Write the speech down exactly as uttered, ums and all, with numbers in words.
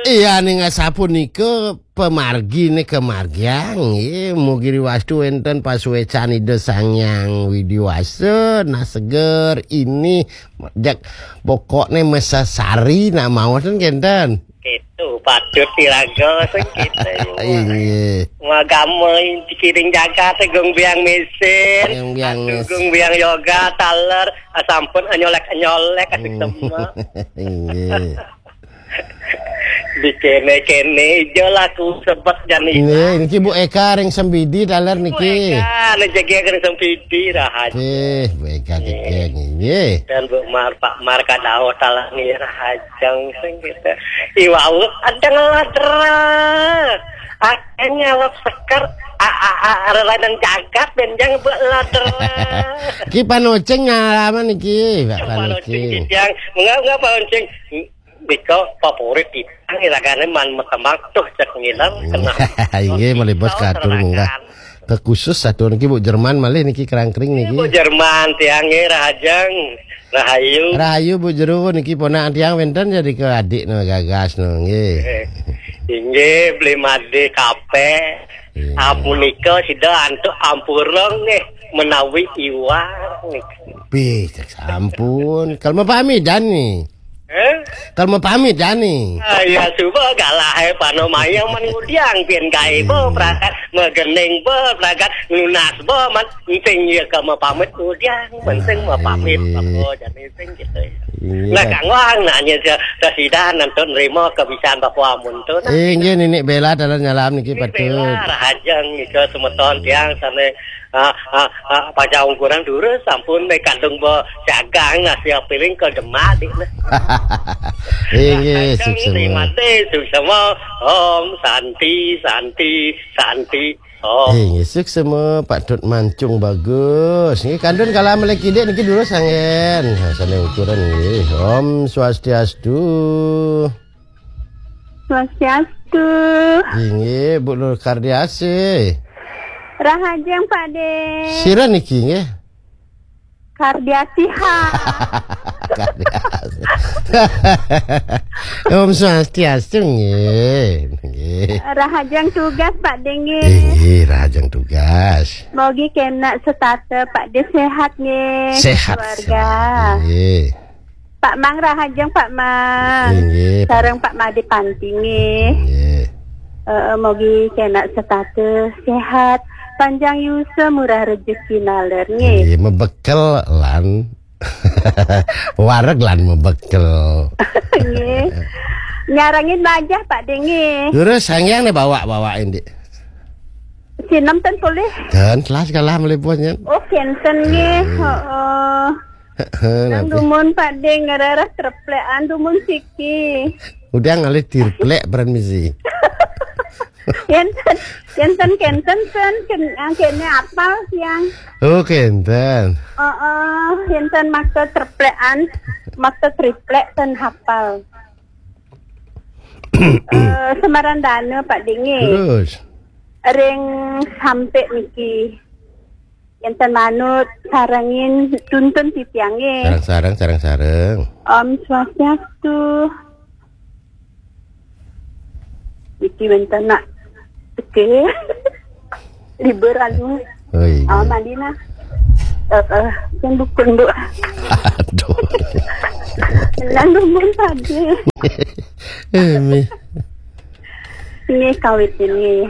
Iya, ning asapunika pamargi nika margiang, nggih. Mugi riwastu wenten pasuecan Ida Sang Hyang Widi Wasa, nah seger ini, jak pokokne mesesari nak maos ten kenten. Gitu, patut diraga, sing gitu. Inggih. Magama dikiring jagat, gung biang mesin, Gung biang mesin. Gung biang yoga, taler, sampun nyolek-nyolek, asik Hmm. semua. Inggih. Dikene-kene ijo laku sebet jan Nggih, niki Bu Eka ring Sempidi taler Bu niki. Eka, rejeki ring Sempidi, rahayu. Eh, Bu Eka Nggih. Jegeng, nggih. Dan Bu Mar, Pak Mar kadau taler nggih, rahajeng sing gitu. Iwau ada ngeladra. Akhirnya lep seker, a, a, a, relanan jagat, benjang Bu ladra. Ki panoceng nyalaman niki, Pak Panoceng Panoceng. Kijang. Enggak, enggak Panoceng. Nika favorit kita, nggih, ragane man makembang tuh cek ngiler, kena. Inggih, malih bos katur munggah. Kekhusus satur niki Bu Jerman malih niki kerangkring niki. Bu Jerman tiang nggih, rahajeng, rahayu. Rahayu Bu Jero niki ponakan tiang wenten jadi ke adik no gagas no nggih. Eh, inggih, beli made kape. Iya. Apunika sida antuk ampura nggih menawi iwak niki. Pih, sampun. Kalau mau pamit jani. Eh? Kalau mau pamit jani. Ah, ya, coba galah, eh, pano mayang man ngudiang, pian gae bo, Hmm. prakat, megening bo, prakat, lunas bo, man, penting ya ke mau pamit ngudiang, penting mau pamit, Iya. Apa, jadi penting gitu ya. Iya. Nah, Kang Wang nanya ke, ke sida nanti nerima kebisan Bapak Amun tuh, nah. Eh, nggih, Nini Bella dalam nyalam niki Nini patut. Bella, rahajeng, nika semeton tiang, sana Ah, ah, ah, pacang ukuran durus sampun mek kandung bo jagang nasi piring ke demak dik nah. Inggih, suksema. Terima kasih, suksema. Om Santi, Santi, Santi. Om. Inggih, suksema Pak Tut Mancung bagus. Nggih kandun kala melek kidik niki durus anggen. Nah, sana ukuran nggih. Om Swastiastu. Swastiastu. Inggih, Bu Nur Kardiasih. Rahajeng, Pak De. Sira niki nggih? Kardiasiha. Kardiasih. Om Swastiastu nggih. Nggih. Rahajeng tugas, Pak De nggih. Inggih, rahajeng tugas. Mogi kena setata, Pak De sehat nggih. Sehat. Keluarga. Sehat, nggih. Pak Mang rahajeng, Pak Mang. Inggih, Pak. Sareng Pak Made Panti nggih. Inggih. Eh, mogi kena setata sehat, panjang yusa, murah rejeki naler nggih. Inggih, mebekel lan wareg lan mebekel. Nggih. Nyarengin bajah Pak De nggih. Terus sangyang ne bawa-bawain, Dik. Sinem ten polih. Dan telas kalah meliput, ya. Oh, kenten nggih. Nggih. Heeh. Heeh, Nang nanti. Dumun Pak De ngerereh treplekan dumun siki. Udah ngalih tirplek peran misi. Yen yen ten kenten ten ken, ah, kene apal siang. Oh, kenten. Heeh, yen ten maksa treplekan, maksa triplek ten hafal. Eh, Semarandana Pak De nggih. Terus? Ring sampe niki. Enten manut sarengin tuntun titiang nggih. Sareng-sareng, sareng-sareng. Om Swastiastu. Iki wenten nak. Oke. Libur anu. Oh, iya. Oh, Madinah. Eh, eh, yang dukun, Bu. Aduh. Nang dukun tadi. Eh, Mi. Ini kawit ini.